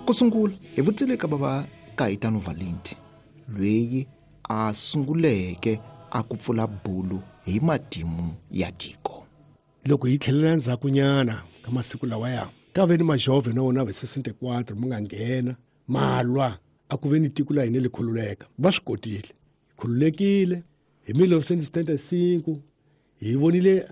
Ku sungula hi vutisile ka bava Caetano Valente loyi a sunguleke a ku pfula bulu hi matimu ya tiko. Loko hi tlhelela ndzhakunyana ka masiku lawaya ka ve ni majove na wona va 64 ma nga nghena ma lwa a ku ve ni tiko la hina li khululeka. Va swi kotile, khululekile hi 1975 hi vonile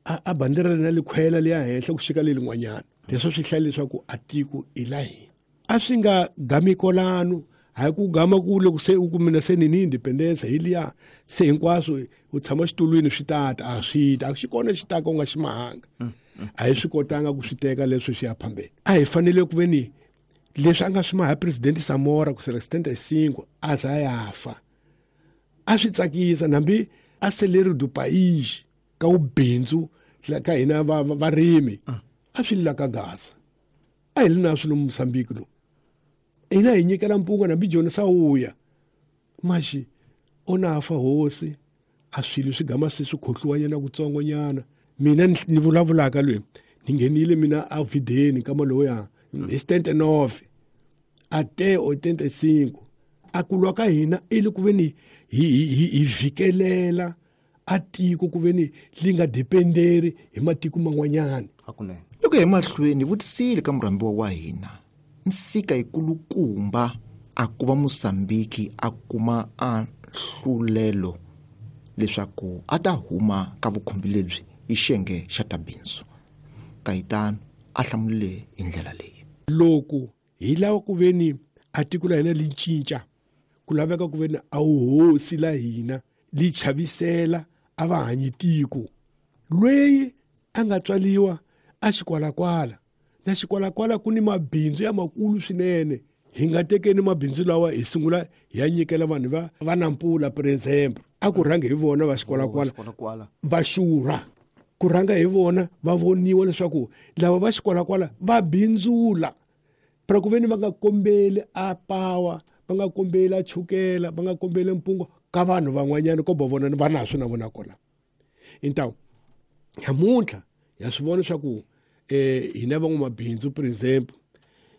a bandera na likhwela liya henhla ku xika lelin'wanyana. Leswi swi hlaya leswaku a tiko i la hina. A swi nga gami kolano, hayi ku gama ku loko se u kumina se ni ni independence hi liya se hinkwaswo u tshama xitulwini swi tata a swi ta a xi kona xi taka u nga xi mahanga. A hi swi kotanga ku swi teka leswi swi ya phambeni. A hi fanele ku ve ni leswi a nga swi maha president Samora ku sela 75 a za ya fa. A swi tsakisa nambi a seleri du pays ka ubindzu ka hina varimi a swi lila ka Gaza. A hi li na swilo Mozambique lo. Hina hi nyikela mpunga nambi Joni Sawuya. Maxi ona fa hosi a swilo swi gama swi swi khohliwanyana kutsongonyana. Mina ni vulavulaka loyi ni nghenile mina a videni ka maloya hi 79 a te 85 a kulwa ka hina i le ku ve ni hi vhikelela a tiko ku ve ni li nga dependeri hi matiko man'wanyana. Hakunene. Loko hi mahlweni vutisile ka murhambiwa wa hina nsika yikulukumba a ku va Mozambique a kuma a nhlulelo leswaku a ta huma ka vukhumbi lebyi hi xiyenge xa ta bindzu. Caetano a hlamulile hi ndlela leyi. Loko hi lava ku ve ni a tiko la hina li cinca, ku laveka ku ve ni a wuhosi la hina li chavisela a va hanyi tiko. Lweyi a nga tswaliwa a xikwalakwala, na xikwalakwala ku ni mabindzu ya makulu swinene. Hi nga tekeni mabindzu lawa hi sungula hi ya nyikela vanhu va Nampula, por exemple. A ku rhange hi vona va xikwalakwala, va xurha. Ku rhanga hi vona va voniwa leswaku lava va xikwalakwala va bindzula. Pra ku ve ni va nga kombeli a pawa, va nga kombeli a chukela, va nga kombeli mpungo ka vanhu van'wanyana ko va vona va na swi na vona kona. Então, namuntlha ya swi vona leswaku hina van'wamabindzu, por exemple,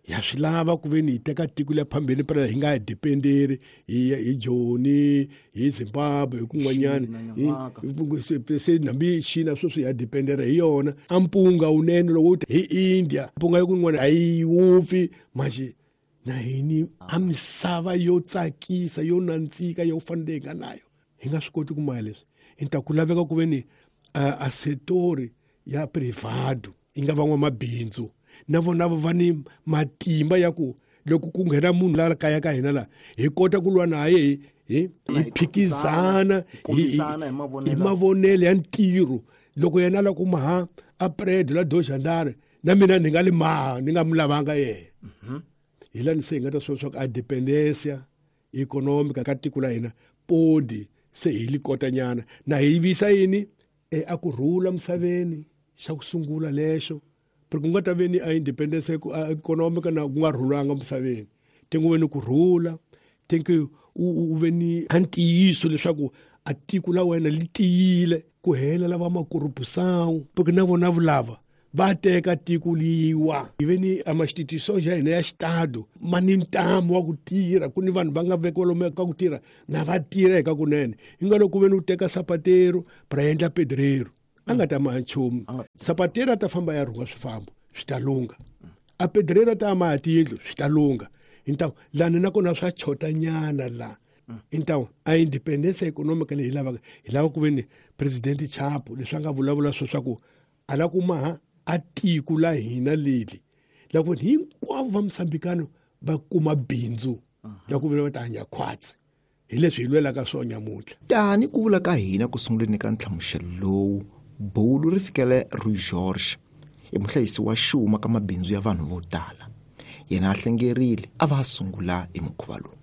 ya swi lava ku ve ni hi teka tiko leri phambeni pra hi nga dependeri hi Joni, hi Zimbabwe, hi kun'wanyana. Se nambi China sweswi ya dependera hi yona. A mpunga wunene loko wu ta hi India, mpunga ya kun'wana a yi wupfi, manje na hini a misava yo tsakisa yo nandzika yo fanele hi nga nayo hi nga swi koti ku maya leswi. Hi ta ku laveka ku ve ni a setori ya privado yi nga van'wamabindzu na vona va ni matimba ya ku loko ku nghena munhu la kaya ka hina la hi kota ku lwa naye hi phikizana hi mavonelo ya ntirho. Loko yena la kuma ha a predo la doxandare na mina ni nga li maha ni nga mu lavanga yena. Hi la ni se hi nga ta swi swa ku a dependencia economica ka tiko la hina podi se hi li kotanyana na hi yivisa yini a ku rhula misaveni xa ku sungula lexo. Porque ku nga ta ve ni a independence economica na ku nga rhulanga misaveni. Tengo ve ni ku rhula, tengo u ve ni a ntiyiso leswaku a tiko la wena li tiyile ku hela lava makorupusão, porque na vona vulava va teka tiko liwa. Hi ve ni a ma-institution ya hina ya xitado ma ni ntamu wa ku tirha, ku ni vanhu va nga vekiwa lomu ka ku tirha na va tirha eka kunene. Hi nga loko ku ve ni u teka sapatero pra endla pedrero, a nga ta maha nchumu. Sapatero a ta famba ya rhunga swifambo swi ta lungha, a pedrero a ta maha tiyindlu swi ta lungha. Hintawu lani nakona swa chotanyana la. Hintawu a independence economic leyi hi lavaka, hi lava ku ve ni president Chapo leswi a nga vulavula swo swa ku a la ku maha a tiko la hina leli la ku hinkwavo va Mozambikano va kuma bindzu la ku va ta hanya khwatsi. Hi leswi hi lwelaka swona nyamuntlha. Tani ku vula ka hina ku sunguleni ka nhlamuselo lowu, bulu ri fikele Rui George, i muhlayisi wa xuma ka mabindzu ya vanhu vo tala. Yena a hlengerile a va a sungula hi mukhuva lowu.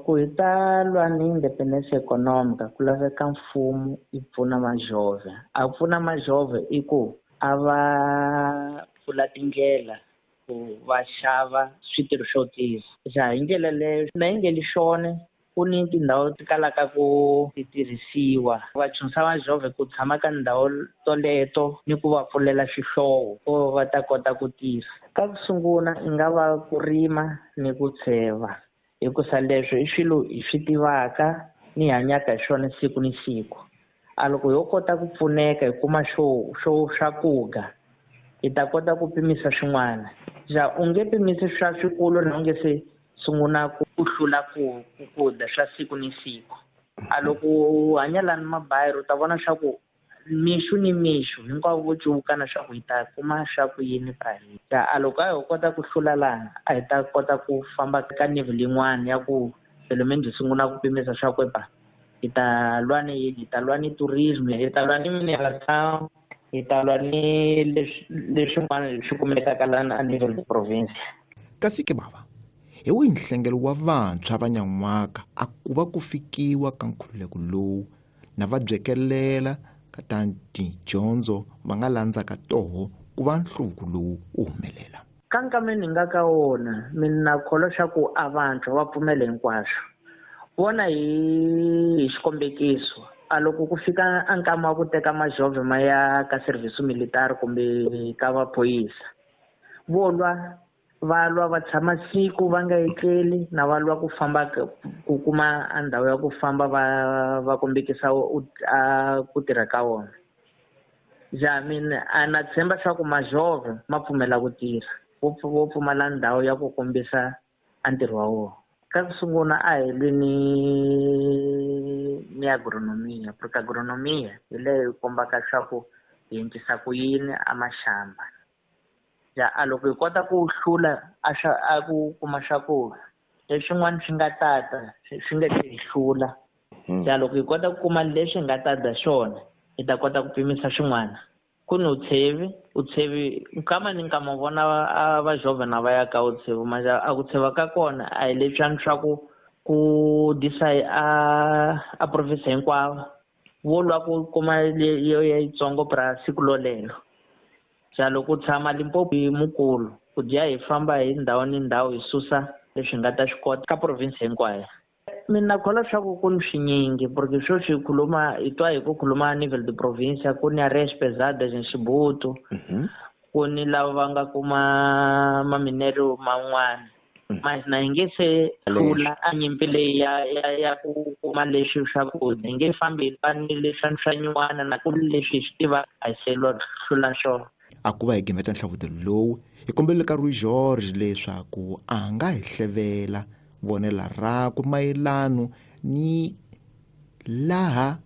Ku hi ta lwa ni independence economic ku laveka mfumo yi pfuna majove. A pfuna majove i ku a va pfula tindlela ku va xava switirho swo tirha. Ja hi ndlela leyo na yi nge li xone. Ku ni tindhawu ti kalaka ku ti tirhisiwa. Va chunsa majove ku tshama ka ndhawu toleto ni ku va pfulela xihlovo ku va ta kota ku tirha. Ka ku sungula i nga va ku rima ni ku tsheva, hikusa leswo i swilo hi swi tivaka ni hanyaka hi swona siku ni siku. A loko ho kota ku pfuneka hi kuma xo xo swakudya hi ta kota ku pimisa swin'wana. Ja u nge pimisi swa swikulu na u nge se sungula ku hlula ku ku dya swa siku ni siku. A loko u hanya lani mabayiro u ta vona swa ku mixo ni mixo hinkwavo vo cuvukana swa ku hi ta kuma swa ku yini pra hina. Ja a loko a ho kota ku hlula lana a hi ta kota ku famba ka level yin'wana ya ku pelo menos hi sungula ku pimisa swa ku epa hi ta lwa ni yini, hi ta lwa ni tourism, hi ta lwa ni mineração, hi ta lwa ni leswin'wana leswi kumekaka lana a nível de província. Kasi ke bava, hi wihi nhlengelo wa vantshwa va nyan'waka a ku va ku fikiwa ka nkhululeko lowu na va byekelela ka ta tidyondzo va nga landzaka toho ku va nhluvuko lowu wu humelela? Ka nkameni hi nga ka wona mina kholwa swa ku a vantshwa va pfumela hinkwaswo. Vona hi xikombekiso, a loko ku fika a nkama wa ku teka majove ma ya ka service militar kumbe ka vaphoyisa, vo lwa va lwa va tshama siku va nga etleli na va lwa ku famba ku kuma a ndhawu ya ku famba va kombekisa ku tirha ka vona. Ja mina a na tshemba swa ku majove ma pfumela ku tirha, vo pfumala ndhawu ya ku kombisa a ntirho wa wona. Ka ku sungula a hi lwi ni agronomia, porque agronomia hi leyi kombaka swa ku hi endlisa ku yini a maxamba. Ja a loko hi kota ku hlula a swa a ku kuma swakudya leswin'wana swi nga tata swi nga hi hlula. Ja loko hi kota ku kuma leswi nga ta dya swona hi ta kota ku pimisa swin'wana. Ku ni utshevi nkama ni nkama vona a va jove na va ya ka utshevi, manje a ku tsheva ka kona a hi leswiya swa ku disa a province hinkwawo, vo lwa ku kuma leyo ya yitsongo pra siku lolelo. Ja loko u tshama Limpopo hi mukulu ku dya hi famba hi ndhawu ni ndhawu hi susa leswi nga ta swi kota ka province hinkwayo. Mina kholwa swa ku ku ni swinyingi porque sweswi hi khuluma hi twa hi ku khuluma nível de província, ku ni areias pesadas em Chibuto, ku ni lava va nga kuma maminero man'wana. Mas na hi nge se hlula a nyimpi leyi ya ku kuma leswi swakudya, hi nge fambi hi lwa ni leswiya swa nyuwana na ku leswi hi swi tiva a hi se hlula swona. A ku va hi gimeta nhlavutelo lowu hi kombelele ka Rui George leswaku a nga hi hlevela vonela rakwe mayelano ni laha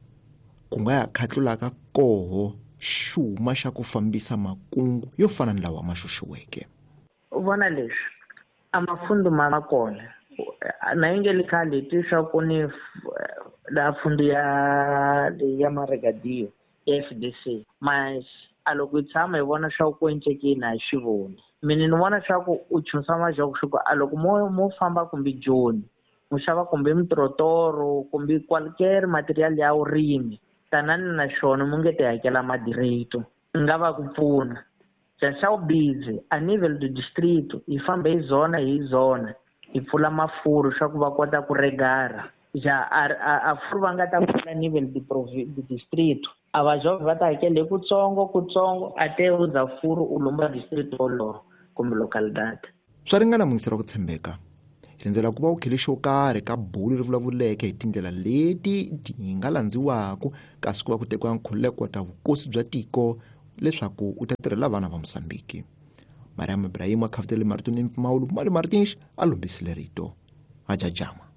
ku nga ya khatlulaka koho xuma xa ku fambisa makungu yo fana ni lawa ma xuxiweke. U vona leswi a mafundu ma kona na yi nge le khale hi twi swa ku ni la fundu ya Maragadio ya FDC, mas a loko hi tshama hi vona swa ku encekini a hi swi voni. Mina ni vona swa ku u chunsa majoko swa ku a loko mo famba kumbe Joni mu xava kumbe mitrotoro kumbe qualquer material ya vurimi tanani na xona mu nge ti hakela madireto, nga va ku pfuna. Ja xa vubizi a nível do distrito hi famba hi zona hi zona hi pfula mafuru swa ku va kota ku regara. Ja a furu va nga ta pfula nível de distrito a va jove va ta hakela hi kutsongo kutsongo a te u za furu u lomba distrito wolowo kumbe localidade. Swa ringana muyingiseri wa ku tshembeka, hi rindzela ku va u khele xo karhi ka bulu ri vulavuleke hi tindlela leti ti nga landziwaka kasi ku va ku tekiwa nkhululeko ta vukosi bya tiko leswaku u ta tirhela vana va Mosambiki. Mariam Ibrahim a khavutele marito ni mpfumawulo, Mali Martins a lombisile rito. Ajajama.